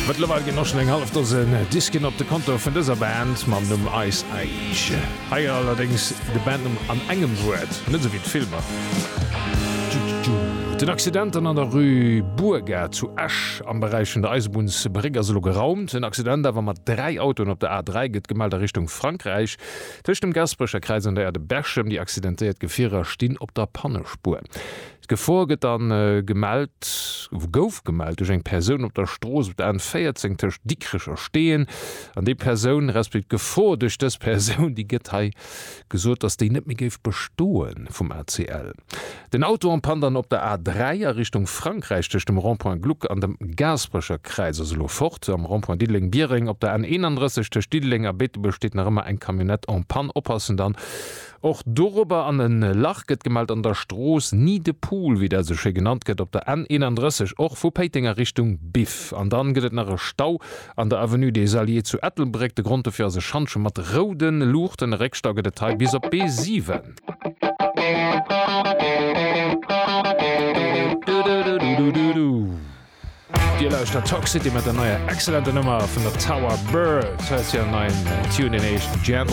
Mëttlerweil ginn och schonn eng hallef Dosen Disken op de Konto vun dëser Band mam Numm Ice Age. Hei allerdéngs de Bandnumm an engem Wuert, net esou wéi d'Filmer. Den Accident an der Rue Bourga zu Esch am Beräich vun der Eisebunnsbréck ass elo geraumt. En Accident awer mat 3 Autoen op der A3 gëtt gemellt a Richtung Frankräich. Tëscht dem Gasperecher Kräiz an der Aire de Berchem. Déi accidentéiert Gefierer stinn op der Pannespuer. D'Gefor gëtt dann gemellt, gouf gemellt duerch eng Persoun op der Strooss op der N 14 tëscht Dikrech a Steeën. An déi Persoun, resp. D'Gefor duerch dës Persoun, déi gëtt hei gesot, datt déi net méi géif bestoen vum ACL. Den Auto en panne dann op der A 3 a Richtung Frankräich tëscht dem Rond-point Gluck an dem Gaasperecher Kräiz ass elo fort. Am Rond-point Diddeleng-Biereng op der N 31 tëscht Diddeleng a Beetebuerg steet nach ëmmer eng Camionnette en panne. Oppassen dann Och dorobber an en Lach gëtt gemellt an der Strooss Nid de Poule, wéi dat esou schéi genannt gëtt, op der N 31, och vu Péiteng a Richtung Biff. An dann gëtt et nach e Stau an der Avenue des Alliés zu Ettelbréck. De Grond dofir ass e Schantje mat roude Luuchten. E Réckstau gëtt et hei bis op B7. Dir lauschtert Talk City mat der neier excellenter Nummer vun der Tower Bird. Hei ass hiren neien Tune, deen heescht Gentle.